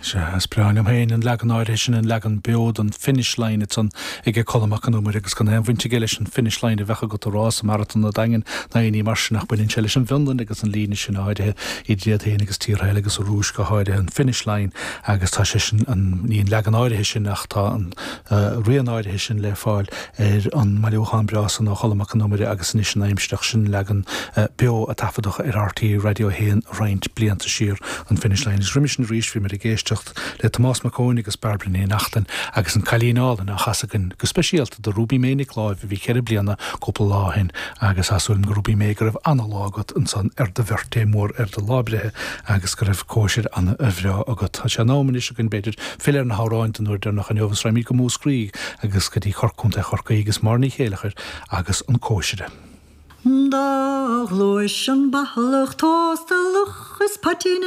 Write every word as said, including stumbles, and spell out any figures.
Sea is breá liom féin an leagan áirithe sin an leagan beo den finish line ansan ag Colm Mac Con Iomaire agus gan aon bhaint aige leis an finish line a bheadh agat a rá sa maratón na Daingean ná aon ní mar sin ach baineann sé leis an bhFionlainn agus an líne sin áirithe idir iad féin agus tíortha eile agus an Rúis go háirithe an finish line agus tá sé sin an ní an leagan áirithe sin ach tá an uh, rian áirithe sin le fáil ar an mbailiúchán breá san ó Cholm Mac Con Iomaire agus anois an aimsireach sin leagan uh, beo a taifeadadh ar RTÉ Radio haon roinnt blianta siar an finish line. Is roimhe sin arís bhí muid ag éisteacht le Tomás Mac Eoin agus Bairbre Ní Neachtain agus an Cailín Álainn á chasadh againn go speisialta do Ruby May Nic Láimh a bhí ceithre bliana cúpla lá ó shin agus tá súil go Ruby May go raibh an-lá agat ansan ar do bhirthday mór ar do lá breithe agus go raibh cóisir an-bhreá agat. Tá sé in am anois againn b'fhéidir filleadh ar na hamhráin den uair dheireanach inniu agus raghaimid go Múscraí agus go dtí Corc Contae Chorcaí agus Máire Ní Chéileachair agus an cóisire. Dá ghluais an bathalach tósta luch is poitín